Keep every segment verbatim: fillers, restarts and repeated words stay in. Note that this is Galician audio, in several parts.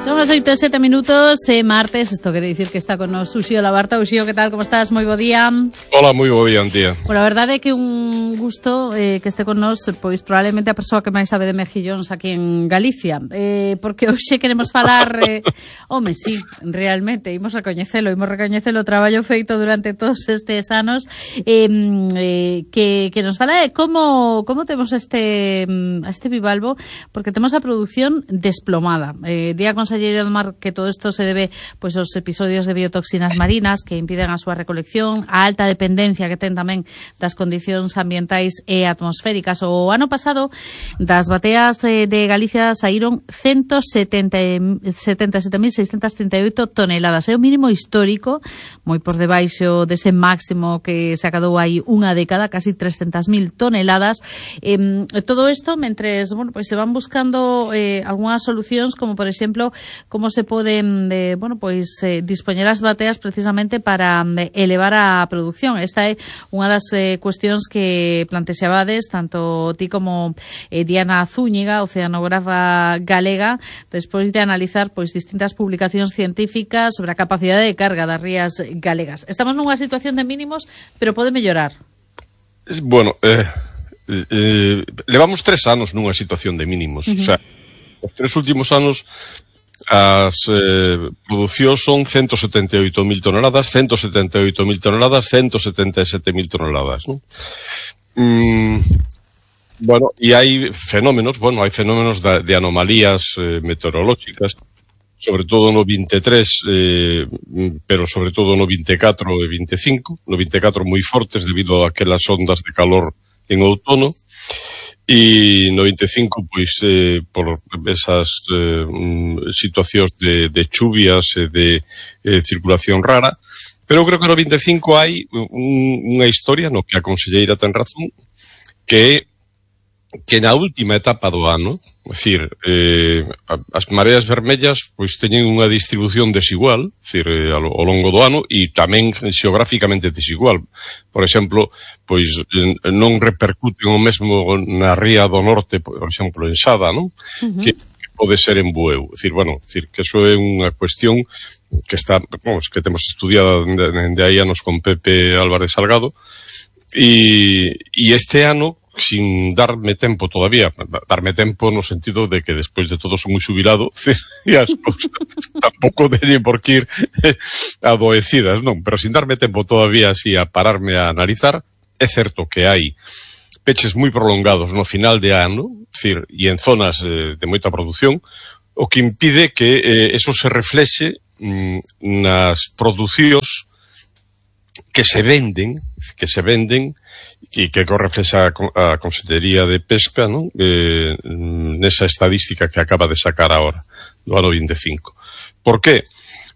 Son as oito e sete minutos, é martes, isto quere dicir que está con nos Uxío Labarta. Uxío, que tal, como estás? Moi bo día. Hola, moi bo día, Antía. Bueno, a verdade é que un gusto eh, que este con nos, pois probablemente a persoa que máis sabe de mexillóns aquí en Galicia, eh, porque hoxe queremos falar, eh, home, sí, realmente, imos recoñecelo, imos recoñecelo o traballo feito durante todos estes anos, eh, eh, que, que nos fala de como, como temos este, este bivalvo, porque temos a produción desplomada. Eh, día con Conselleiro do Mar que todo isto se debe pois aos episodios de biotoxinas marinas que impiden a súa recolección, a alta dependencia que ten tamén das condicións ambientais e atmosféricas. O ano pasado das bateas eh, de Galicia saíron ciento setenta e sete mil seiscentas trinta e oito toneladas. É o mínimo histórico, moi por debaixo dese máximo que se acadou hai unha década, casi trescentas mil toneladas. Eh, todo isto mentres, bueno, pois se van buscando eh, algunhas solucións, como por exemplo como se poden eh, bueno, pois, eh, dispoñer as bateas precisamente para eh, elevar a produción. Esta é unha das eh, cuestións que plantexabades tanto ti como eh, Diana Zúñiga, oceanógrafa galega, despois de analizar pois distintas publicacións científicas sobre a capacidade de carga das rías galegas. Estamos nunha situación de mínimos, pero pode mellorar. Bueno, eh, eh, levamos tres anos nunha situación de mínimos. Uh-huh. O sea, os tres últimos anos as eh, producións son ciento setenta e oito mil toneladas, ciento setenta e oito mil toneladas, ciento setenta e sete mil toneladas, ¿no? Mm, bueno, e hai fenómenos, bueno, hai fenómenos de, de anomalías eh, meteorolóxicas, sobre todo no vinte e tres, eh, pero sobre todo no vinte e catro e vinte e cinco, no vinte e catro moi fortes debido a aquelas ondas de calor en outono, e no vinte e cinco, pois, eh, por esas eh, situacións de, de chuvias e de eh, circulación rara, pero creo que no vinte e cinco hai un, unha historia no que a conselleira ten razón, que que na última etapa do ano, é dicir, eh, as mareas vermellas pois teñen unha distribución desigual, é dicir, eh, ao, ao longo do ano, e tamén xeográficamente desigual. Por exemplo, pois non repercuten o mesmo na ría do norte, por exemplo, en Sada, non? Uh-huh. Que, que pode ser en Bueu. É dicir, bueno, é dicir, que eso é unha cuestión que está, vamos, que temos estudiada de aí anos con Pepe Álvarez Salgado, e, e este ano, sin darme tempo todavía, darme tempo no sentido de que despois de todo son moi xubilado e as cousas tampouco teñen por que ir adoecidas, non, pero sin darme tempo todavía así a pararme a analizar, é certo que hai peches moi prolongados no final de ano, decir, e en zonas eh, de moita produción, o que impide que eh, eso se reflexe mm, nas producións que se venden, que se venden e que reflexa a Consellería de Pesca, non? Eh, nesa estadística que acaba de sacar agora, do ano vinte e cinco. Por qué?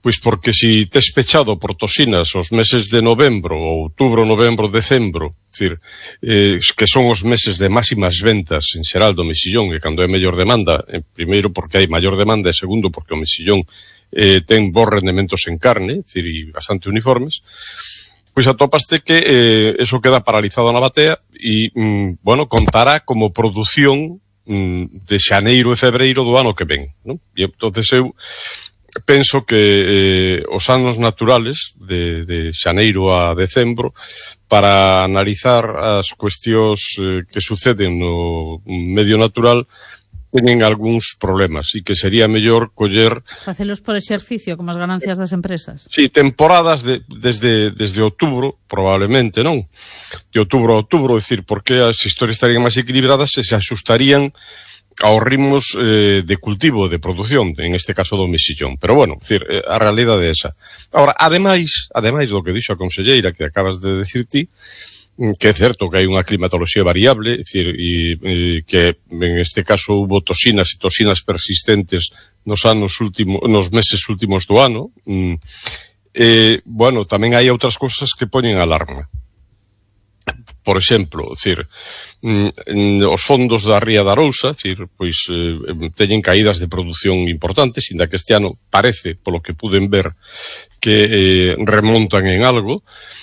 Pois porque si tes pechado por toxinas os meses de novembro, outubro, novembro, decembro, decir, eh, que son os meses de máximas ventas en xeral do mexillón, e cando é mellor demanda, eh, primeiro porque hai maior demanda, e segundo porque o mexillón eh, ten bons rendementos en carne, decir, e bastante uniformes, pois atopaste que eh, eso queda paralizado na batea e, mm, bueno, contará como produción mm, de xaneiro e febreiro do ano que ven, non? E entonces eu penso que eh, os anos naturales de, de xaneiro a decembro, para analizar as cuestións eh, que suceden no medio natural, teñen algúns problemas e que sería mellor coller... Facelos por exercicio, como as ganancias das empresas. Sí, temporadas de, desde, desde outubro, probablemente, non? De outubro a outubro, é dicir, porque as historias estarían máis equilibradas e se axustarían aos ritmos eh, de cultivo, de produción, en este caso do mexillón. Pero, bueno, é dicir, a realidade é esa. Ahora, ademais, ademais do que dixo a conselleira, que acabas de decir ti, que é certo que hai unha climatoloxía variable, é dicir, e, e que en este caso hubo toxinas e toxinas persistentes nos anos últimos, nos meses últimos do ano. E, bueno, tamén hai outras cousas que poñen alarma. Por exemplo, é dicir, os fondos da Ría da Arousa, é dicir, pois eh, teñen caídas de produción importantes, inda que este ano parece, polo que puden ver, que eh, remontan en algo.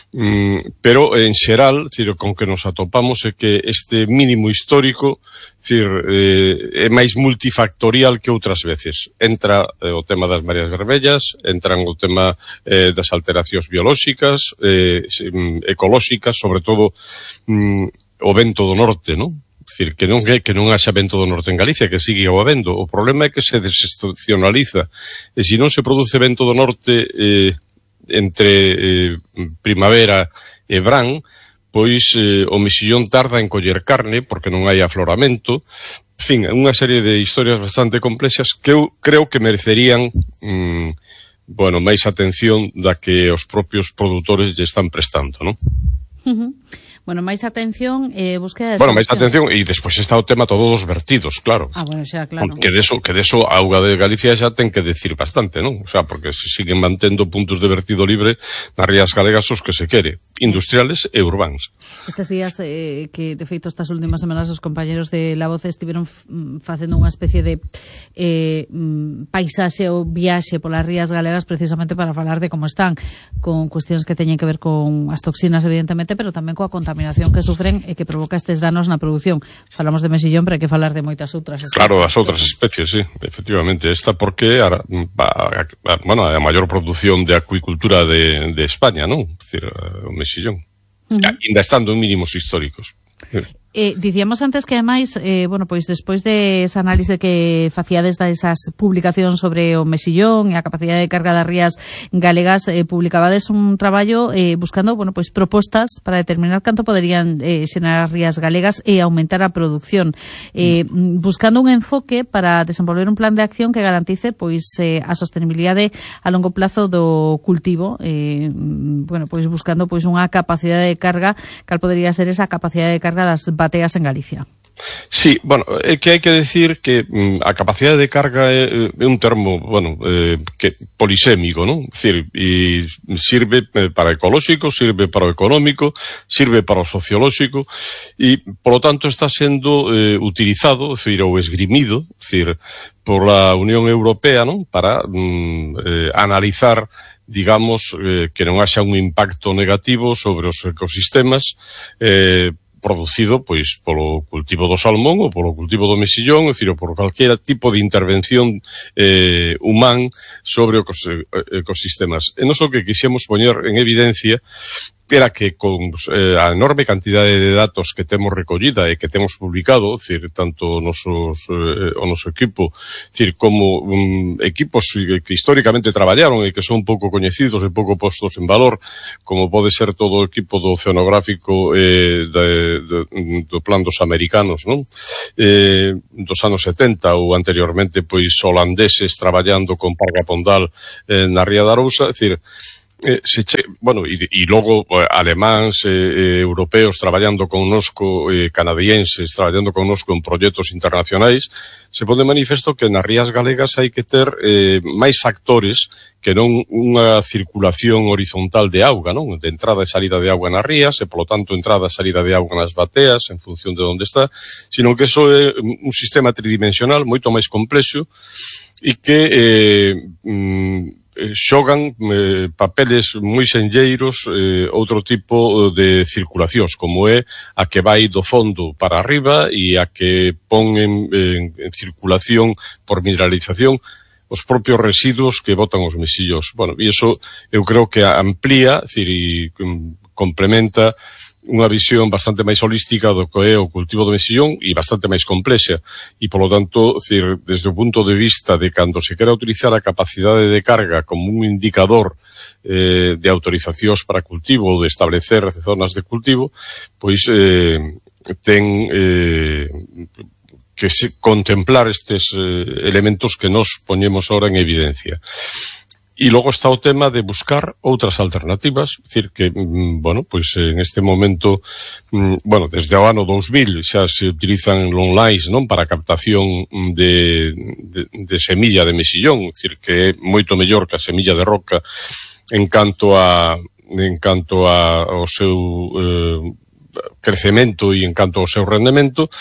Mm, pero, en xeral, ciro, con que nos atopamos é que este mínimo histórico, cir, eh, é máis multifactorial que outras veces. Entra eh, o tema das mareas vermellas, entran o tema eh, das alteracións biolóxicas, eh, ecolóxicas, sobre todo mm, o vento do norte, non? Dicir, que non é que non haxa vento do norte en Galicia, que sigue o habendo. O problema é que se desestacionaliza. E se non se produce vento do norte eh, entre eh, primavera e verán, pois eh, o mexillón tarda en coller carne porque non hai afloramento. En fin, unha serie de historias bastante complexas que eu creo que merecerían mm, bueno, máis atención da que os propios produtores lle están prestando, non? Uh-huh. Bueno, máis atención e eh, búsqueda de Bueno, máis atención, e despois está o tema todos os vertidos, claro. Ah, bueno, xa, claro. Que deso, que deso a auga de Galicia xa ten que decir bastante, non? O sea, porque se siguen mantendo puntos de vertido libre nas rías galegas os que se quere, industriales e urbáns. Estes días eh, que, de feito, estas últimas semanas os compañeros de La Voz estiveron facendo unha especie de eh, paisaxe ou viaxe polas rías galegas precisamente para falar de como están, con cuestións que teñen que ver con as toxinas, evidentemente, pero tamén coa contaminación que sufren e que provoca estes danos na produción. Falamos de mexillón, pero hai que falar de moitas outras especies. Claro, das outras especies, sí, efectivamente. Esta porque, a, a, a, bueno, a maior produción de acuicultura de, de España, non? É dicir, o mexillón. Uh-huh. Ainda estando en mínimos históricos. Eh, dicíamos antes que, ademais, eh, bueno, pois despois de esa análise que facíades desas publicacións sobre o mexillón e a capacidade de carga das rías galegas, eh, publicabades un traballo eh, buscando, bueno, pois propostas para determinar canto poderían eh, xenerar as rías galegas e aumentar a produción, eh, buscando un enfoque para desenvolver un plan de acción que garantice, pois, eh, a sostenibilidade a longo plazo do cultivo, eh, bueno, pois buscando, pois, unha capacidade de carga, cal podería ser esa capacidade de carga das bateas en Galicia. Sí, bueno, é que hai que decir que mm, a capacidade de carga é, é un termo, bueno, eh, que polisémico, non? É dicir, e sirve para ecolóxico, sirve para o económico, sirve para o sociolóxico e, por lo tanto, está sendo eh, utilizado, é dicir, ou esgrimido, é dicir, por la Unión Europea, non? Para mm, eh, analizar, digamos, eh, que non haxa un impacto negativo sobre os ecosistemas eh, producido, pois, polo cultivo do salmón ou polo cultivo do mexillón, é dicir, por calquera tipo de intervención eh, humán sobre os ecosistemas. E non só que quixemos poñer en evidencia era que con eh, a enorme cantidade de datos que temos recollida e que temos publicado, decir, tanto nosos, eh, o noso equipo, decir, como um, equipos que históricamente traballaron e que son pouco coñecidos e pouco postos en valor, como pode ser todo o equipo do oceanográfico eh, de, de, do plan dos americanos, non? Eh, dos anos setenta ou anteriormente, pois, holandeses traballando con Parga Pondal eh, na Ría de Arousa, é dicir, Eh, se che, bueno, e, e logo eh, alemáns, eh, europeos traballando connosco, eh, canadienses traballando connosco en proxectos internacionais, se pone manifesto que nas rías galegas hai que ter eh, máis factores que non unha circulación horizontal de auga, non? De entrada e salida de auga nas rías, e polo tanto entrada e salida de auga nas bateas en función de onde está, sino que eso é un sistema tridimensional moito máis complexo e que eh, mm, xogan eh, papeles moi senlleiros eh, outro tipo de circulacións, como é a que vai do fondo para arriba e a que pon en, en, en circulación por mineralización os propios residuos que botan os mexillos. Bueno, e iso eu creo que amplía, decir, e complementa unha visión bastante máis holística do que é o cultivo do mexillón e bastante máis complexa. E, polo tanto, decir, desde o punto de vista de cando se quera utilizar a capacidade de carga como un indicador eh, de autorizacións para cultivo ou de establecer zonas de cultivo, pois eh, ten eh, que se contemplar estes eh, elementos que nos poñemos ahora en evidencia. E logo está o tema de buscar outras alternativas, é dicir que, bueno, pois en este momento, bueno, desde o ano dous mil xa se utilizan longlines, non, para captación de, de, de semilla de mexillón, é dicir que é moito mellor que a semilla de roca en canto a en canto a, ao seu eh, crecemento e en canto ao seu rendemento.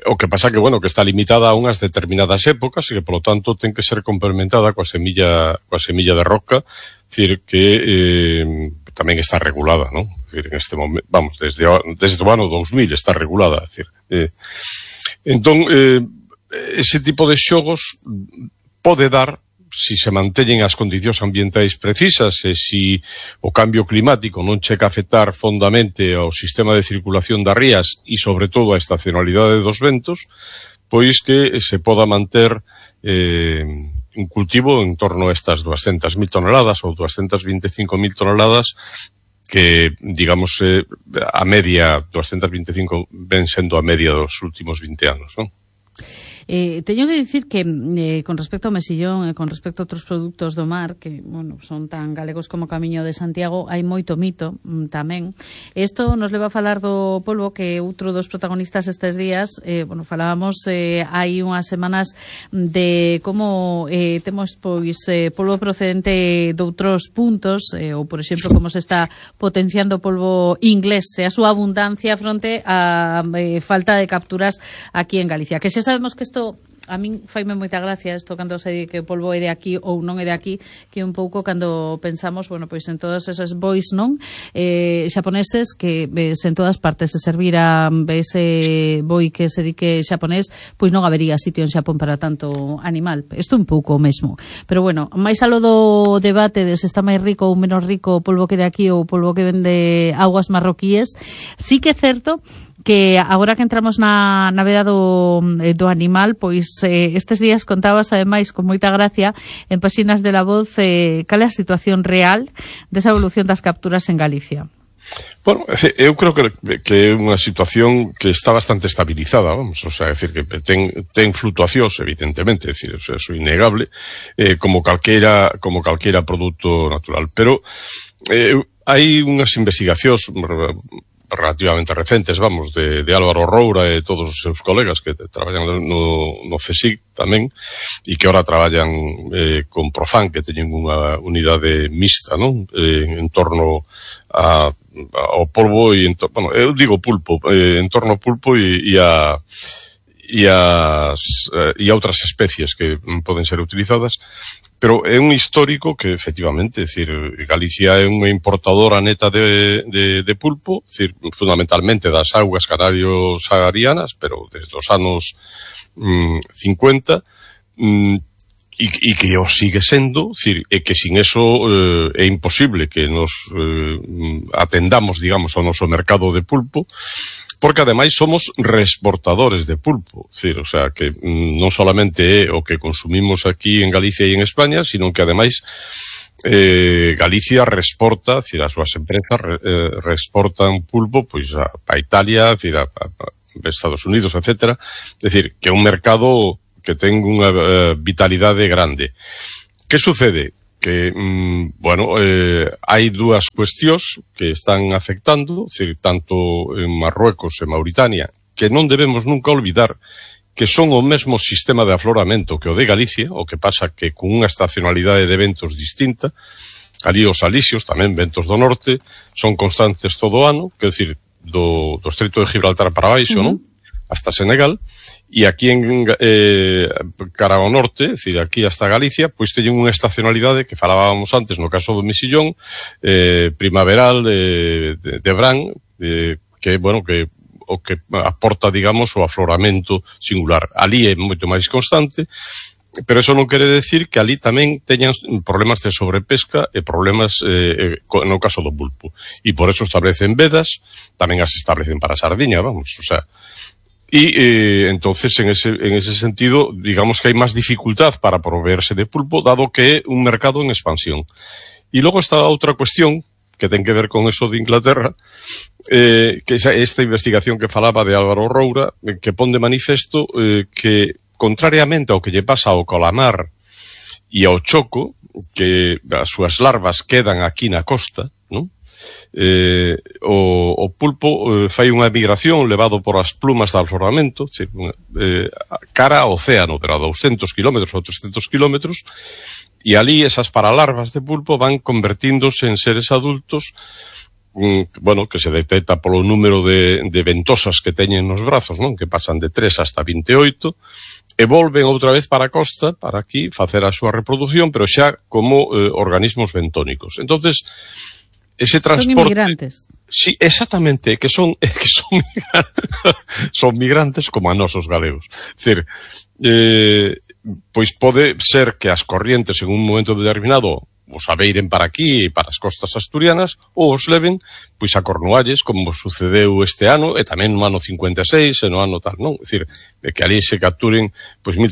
O que pasa que, bueno, que está limitada a unhas determinadas épocas e que, polo tanto, ten que ser complementada coa semilla, coa semilla de roca, dicir que eh, tamén está regulada, non? En este momento, vamos, desde, desde o ano dos mil está regulada, é dicir, eh, entón, eh, ese tipo de xogos pode dar, si se manteñen as condicións ambientais precisas e si o cambio climático non chega a afectar fondamente ao sistema de circulación das rías e, sobre todo, a estacionalidade dos ventos, pois que se poda manter eh, un cultivo en torno a estas duascentas mil toneladas ou duascentas vinte e cinco mil toneladas que, digamos, eh, a media, duascentas vinte e cinco ven sendo a media dos últimos vinte anos, non? Eh, teño que dicir que eh, con respecto ao mesillón e con respecto a outros produtos do mar que, bueno, son tan galegos como o Camiño de Santiago, hai moito mito mm, tamén. Isto nos leva a falar do polvo, que outro dos protagonistas estes días, eh, bueno, falábamos eh, hai unhas semanas de como eh, temos pois eh, polvo procedente de outros puntos, eh, ou por exemplo como se está potenciando o polvo inglés e a súa abundancia fronte a eh, falta de capturas aquí en Galicia, que xa sabemos que isto a min faime moita gracia isto cando se di que o polvo é de aquí ou non é de aquí, que un pouco cando pensamos, bueno, pois en todos esos bois, non? Eh, xaponeses que ves en todas partes se servira ese boi que se di que xaponés, pois non habería sitio en Xapón para tanto animal. Isto un pouco o mesmo. Pero bueno, máis alo do debate de se está máis rico ou menos rico o polvo que de aquí ou o polvo que vende aguas marroquíes, sí que é certo que agora que entramos na, na veda do, do animal, pois eh, estes días contabas ademais con moita gracia en páxinas de La Voz eh, cal é a situación real desa evolución das capturas en Galicia. Bueno, eu creo que, que é unha situación que está bastante estabilizada, vamos, o sea, é dicir, que ten, ten fluctuacións, evidentemente, é dicir, eso é innegable, eh, como calquera, como calquera produto natural, pero eh, hai unhas investigacións relativamente recentes, vamos, de, de Álvaro Roura e todos os seus colegas que traballan no, no CSIC tamén, e que ahora traballan eh, con Profan, que teñen unha unidade mixta, non? Eh, en torno a, ao polvo e, en to, bueno, eu digo pulpo, eh, en torno ao pulpo e, e a e as e a outras especies que poden ser utilizadas, pero é un histórico que efectivamente, é dicir, Galicia é unha importadora neta de, de, de pulpo, é dicir, fundamentalmente das augas canario-saharianas, pero desde os anos mm, cincuenta, mm, e, e que o sigue sendo, é dicir, é que sin eso eh, é imposible que nos eh, atendamos, digamos, ao noso mercado de pulpo, porque ademais somos reexportadores de pulpo, é dicir, o sea, que non solamente é o que consumimos aquí en Galicia e en España, sino que ademais eh, Galicia reexporta, é dicir, as súas empresas re, eh, reexportan pulpo pois a, a Italia, é dicir, a, a, a Estados Unidos, etcétera, é dicir, que é un mercado que ten unha uh, vitalidade grande. Que sucede? Que, mm, bueno, eh, hai dúas cuestións que están afectando, é dicir, tanto en Marruecos e Mauritania, que non debemos nunca olvidar que son o mesmo sistema de afloramento que o de Galicia, o que pasa que con unha estacionalidade de ventos distinta. Ali os alisios, tamén ventos do norte, son constantes todo o ano, que é dicir, do, do Estreito de Gibraltar para baixo, uh-huh. non? Hasta Senegal. E aquí en eh, cara ao norte, é dicir, aquí hasta Galicia, pois teñen unha estacionalidade que falábamos antes no caso do mesillón, eh, primaveral de, de, de Brán, eh, que, bueno, que o que aporta, digamos, o afloramento singular. Ali é moito máis constante, pero eso non quere decir que ali tamén teñan problemas de sobrepesca e problemas eh, no caso do pulpo. E por eso establecen vedas, tamén as establecen para a sardiña, vamos, o sea. Y eh, entonces en ese, en ese sentido, digamos que hay más dificultad para proveerse de pulpo, dado que é un mercado en expansión. Y luego está outra cuestión que ten que ver con eso de Inglaterra, eh, que é esta investigación que falaba de Álvaro Roura, eh, que pon de manifesto eh, que, contrariamente ao que lle pasa ao calamar e ao choco, que as súas larvas quedan aquí na costa, non? Eh, o, o pulpo eh, fai unha migración levado por as plumas de afloramento, eh, cara ao océano, pero a douscentos kilómetros ou trescentos kilómetros, e ali esas paralarvas de pulpo van convertíndose en seres adultos, mm, bueno, que se detecta polo número de, de ventosas que teñen nos brazos, non? Que pasan de tres hasta veintioito, e volven outra vez para a costa, para aquí, facer a súa reproducción, pero xa como eh, organismos bentónicos. Entonces, ese transporte... Son inmigrantes. Sí, exactamente, que son que son, son migrantes como a nosos galegos. É dicir, eh, pois pode ser que as corrientes en un momento determinado os abeiren para aquí, para as costas asturianas, ou os leven pois a Cornualles, como sucedeu este ano, e tamén no ano cincuenta e seis, e no ano tal, non? É dicir, que ali se capturen pois mil,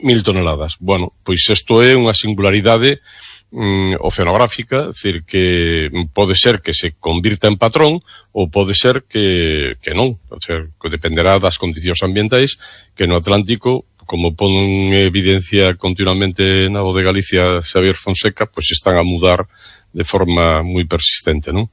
mil toneladas. Bueno, pois isto é unha singularidade mm, oceanográfica, é dicir, que pode ser que se convirta en patrón ou pode ser que, que non, o sea, que dependerá das condicións ambientais que no Atlántico, como pon en evidencia continuamente na voz de Galicia Xavier Fonseca, pois están a mudar de forma moi persistente, non?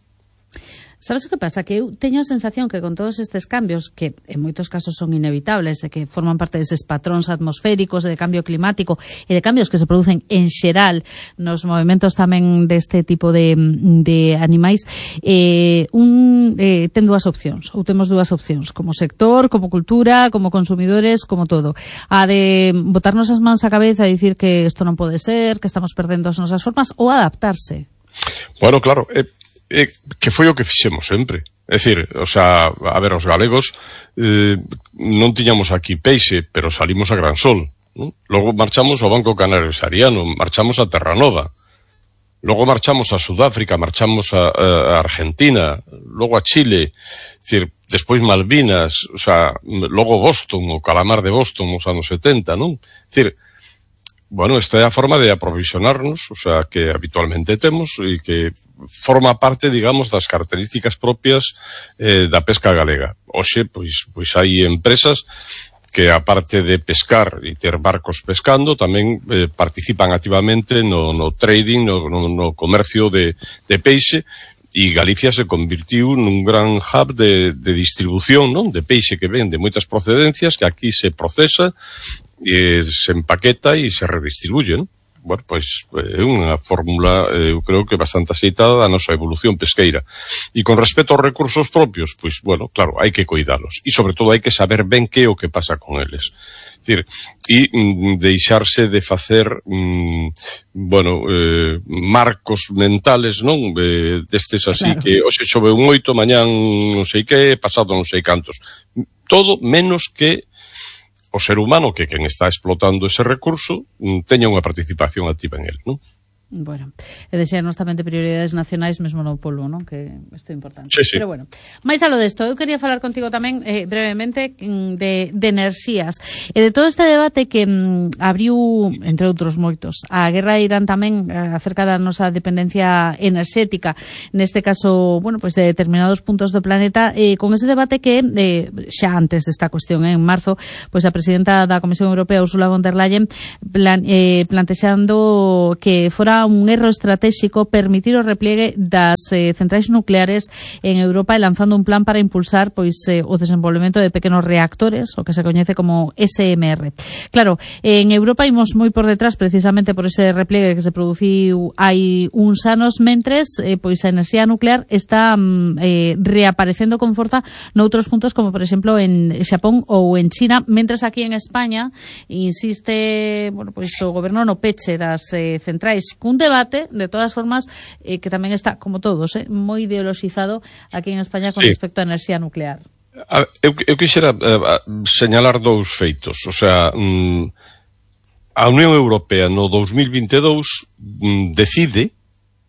Sabes o que pasa? Que eu teño a sensación que con todos estes cambios, que en moitos casos son inevitables, e que forman parte deses patróns atmosféricos de cambio climático e de cambios que se producen en xeral nos movimentos tamén deste tipo de, de animais, eh, un, eh, ten dúas opcións, ou temos dúas opcións, como sector, como cultura, como consumidores, como todo. A de botarnos as mans á cabeza e dicir que isto non pode ser, que estamos perdendo as nosas formas, ou adaptarse. Bueno, claro, eh, Eh, que foi o que fixemos sempre. É dicir, o sea, a ver, os galegos eh, non tiñamos aquí peixe, pero salimos a Gran Sol, ¿no? Logo marchamos ao Banco Canario Sariano, marchamos a Terranova, logo marchamos a Sudáfrica, marchamos a, a Argentina, logo a Chile, é dicir, despois Malvinas, o sea, logo Boston, o calamar de Boston nos anos setenta, non? É dicir, bueno, esta é a forma de aprovisionarnos, o sea, que habitualmente temos e que forma parte, digamos, das características propias eh, da pesca galega. Hoxe, pois, pois hai empresas que, aparte de pescar e ter barcos pescando, tamén eh, participan activamente no, no trading, no, no, no comercio de, de peixe, e Galicia se convirtiu nun gran hub de, de distribución, non? De peixe que ven de moitas procedencias, que aquí se procesa, e se empaqueta e se redistribuye, non? Bueno, pois é unha fórmula, eu creo que bastante aceitada da nosa evolución pesqueira. E con respecto aos recursos propios, pois, bueno, claro, hai que cuidalos. E, sobre todo, hai que saber ben que é o que pasa con eles. Decir, e mm, deixarse de facer, mm, bueno, eh, marcos mentales, non? Eh, destes así, claro, que hoxe chove moito, mañán non sei que, pasado non sei cantos. Todo menos que o ser humano, que quen está explotando ese recurso, teña unha participación activa en él, non? Bueno, e deixarnos tamén de prioridades nacionais mesmo no polo, non? Que isto é importante. Sí, sí. Pero bueno, máis alo desto, eu quería falar contigo tamén eh, brevemente de, de enerxías e de todo este debate que mm, abriu, entre outros moitos, a guerra de Irán tamén eh, acerca da nosa dependencia enerxética, neste caso, bueno, pues de determinados puntos do planeta, eh, con ese debate que eh, xa antes desta cuestión, eh, en marzo, pues a presidenta da Comisión Europea, Ursula von der Leyen, plan, eh, plantexando que fora un erro estratégico permitir o repliegue das eh, centrais nucleares en Europa e lanzando un plan para impulsar pois eh, o desenvolvemento de pequenos reactores, o que se coñece como S M R. Claro, en Europa imos moi por detrás precisamente por ese repliegue que se produciu hai uns anos, mentres eh, pois a enerxía nuclear está mm, eh, reaparecendo con forza noutros puntos como por exemplo en Xapón ou en China, mentres aquí en España insiste, bueno, pois o goberno no peche das eh, centrais. Un debate, de todas formas, eh, que tamén está, como todos, eh, moi ideologizado aquí en España con sí. respecto á enerxía nuclear. A, eu, eu quixera uh, señalar dous feitos. O sea, mm, a Unión Europea no dos mil vinte e dous mm, decide,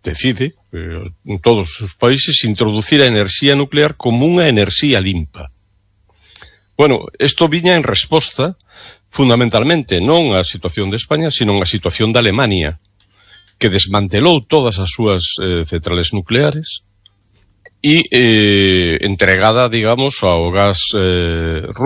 decide, eh, en todos os países, introducir a enerxía nuclear como unha enerxía limpa. Bueno, isto viña en resposta, fundamentalmente, non á situación de España, sino á situación de Alemania, que desmantelou todas as súas eh, centrales nucleares e eh, entregada, digamos, ao gas eh, ruso